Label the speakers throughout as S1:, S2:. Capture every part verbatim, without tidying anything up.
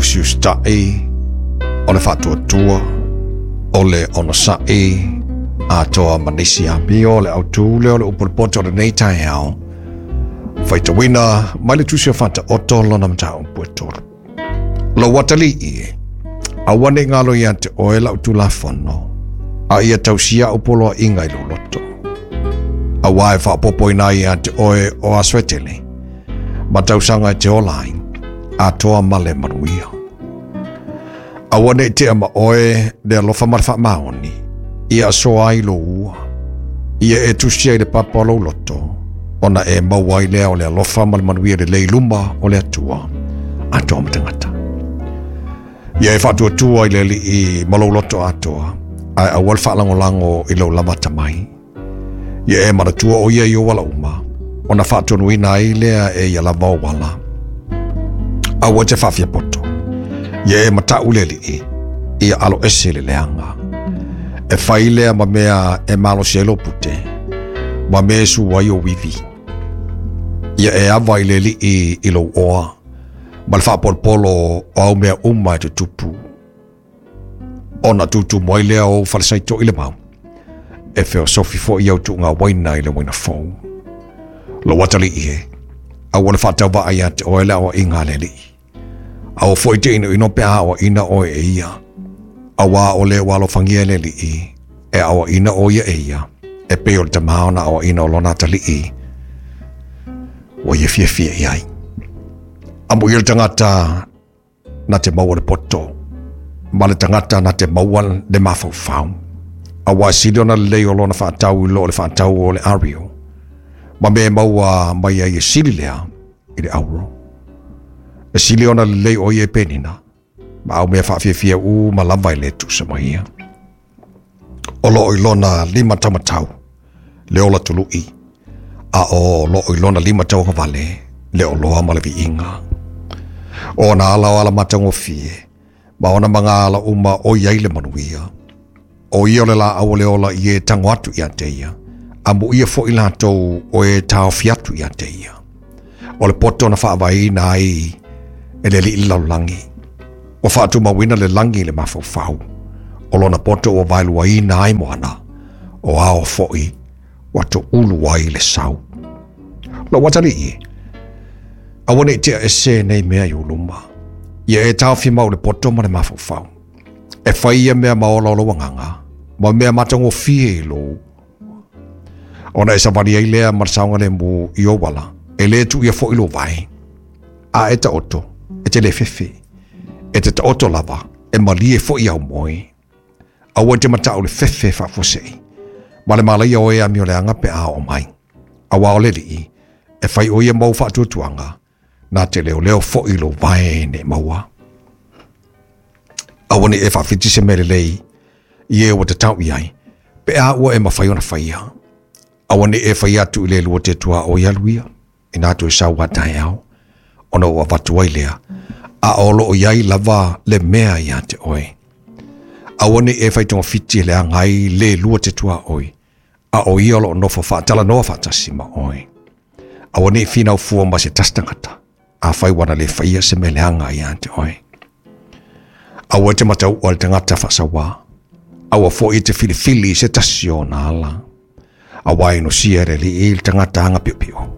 S1: Usiusita'i, o le fa'atuatua, o le onosa'i, atoa ma nisi amio. O le autū lea o le upu o le poto o lenei taeao, faitauina mai le Tusi o Faataoto lona mataupu e tolu. Lou atalii e, aua ne i galo ia te oe lau tulafono, a ia tausia au poloaiga i lou loto. Auā e faaopoopoina ai ia te oe o aso e tele, ma tausaga e te ola ai, atoa ma le manuia. Aua ne i tea ma oe le alofa ma le faamaoni, ia asoa ai lou ua. Ia e tusia i le papa o lou loto, ona e maua ai lea o le alofa ma le manuia lelei i luma o le Atua, atoa ma tagata. Ia e faatuatua i le Alii ma lou loto atoa, ae aua le faalagolago i lou lava atamai. Ia e manatua o ia i ou ala uma, ona faatonuina ai lea e ia lava ou ala. Aua e te faafiapoto, ia e matau le Alii, ia alo ese le leaga. E fai lea ma mea e malosi ai lou pute, ma mea e su ai ou ivi. Ia e ava i le Alii i lou oa, ma le faapolopolo o au mea uma e tutupu. Ona tutumu ai lea o ou falesaito i le mau, e feosofi foi au tuuga uaina i le uaina fou. Lou atalii e, aua le faatauvaa ia te oe le aoaiga a le Alii. Aua foi te inoino pe a aoaina oe e ia. Auā o le ua alofagia e le Alii, e aoaina o ia e ia, e pei o le tamā ona aoaina o lona atalii, ua ia fiafia i ai. Amuia le tagata na te maua le poto, ma le tagata na te maua le mafaufau. Auā e sili ona lelei o lona faatau i lo o le faatau o le ario, ma mea e maua mai ai e sili lea i le auro. E sili ona lelei o ia i penina, ma au mea faafiafia uma lava e le tusa ma ia. O loo i lona lima taumatau le ola tulu'i, a o loo i lona lima tauagavale le oloa ma le viiga. O ona ala o ala matagofie, ma ona magaala uma o i ai le manuia. O ia o le laau o le ola i e tago atu ia te ia, amuia foi latou o e taofi atu ia te ia. O le poto na faavaeina ai e le Alii le lalolagi, ua faatumauina le lagi i le mafaufau. O lona poto ua vaeluaina ai moana, o ao foi ua toulu ai le sau. Lou atalii e, aua ne i tea ese nei mea i ou luma. Ia e taofi mau le poto ma le mafaufau. E fai ia mea ma ola o lou agaga, ma mea matagofie i lou. Ona e savali ai lea ma le saogalemu i ou ala, e lē tuuia foi lou vae. A e taoto, e te le fefe. E te taoto lava, e malie foi au moe. Aua e te matau le fefe faafuasei, ma le malaia o e amioleaga pe a oo mai. Auā o le Alii, e fai o ia mau faatuatuaga, na te leoleo foi lou vae ne i maua. Aua ne i e faafiti se mea lelei i e ua tatau i ai, pe a ua e mafai ona faia. Aua ne i e fai atu i le lua te tuaoi alu ia, inā toe sau a taeao, ona ua avatu ai lea, a o loo i ai lava le mea ia te oe. Aua ne i e fai togafiti e leaga ai le lua te tuaoi, a o ia o loo nofo faatalanoa faatasi ma oe. Aua ne i finau fua ma se tasi tagata, afai ua na le faia se mea leaga ia te oe. Aua e te matauʻa i le tagata faasauā, aua foi e te filifili i se tasi o ona ala. Auā e inosia e le Alii le tagata agapiopio,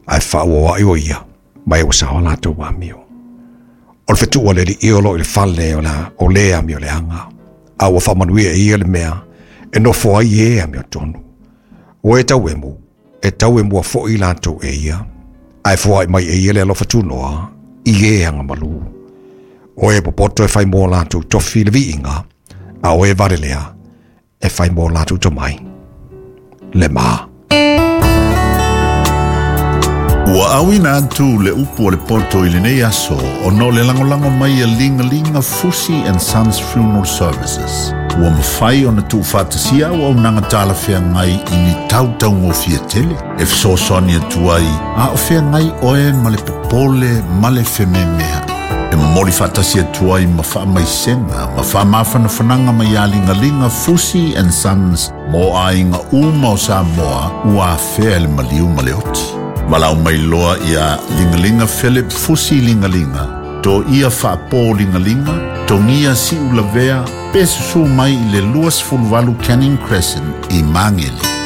S1: ae faaauauaʻi o ia ma e ua saoa latou amio. O le fetuʻu a le Alii o loo i le fale o, la, o le amioleaga, a ua faamanuia e ia le mea e nofo ai e amiotonu. Ua e tauemu, e tauemua foi latou e ia, ae foai mai e ia le alofa tunoa i e agamalu. O e popoto e fai mo latou tofi le viiga, a o e valelea e fai mo latou tomai le ma.
S2: Ua auina atu le upu o le poto i lenei aso ona o le lagolago mai a Ligalia Fusi and Sons Funeral Services. Ua mafai ona tuufaatasia auaunaga talafeagai i ni tautaugofie tele e fesoasoani atu ai a o feagai oe ma le popole ma le fememeaʻi. E momoli faatasi atu ai ma faamaisega ma faamafanafanaga mai ia Ligaliga Fusi and Sons mo aiga uma o Samoa ua afea i le maliu ma le oti. Valaau mai loa ia Ligaliga Philip Fusi Ligaliga To ia whaapō lingalinga, tongia si ulavea, pe susu mai i le lua sefuluvalu Canning Crescent i Magele.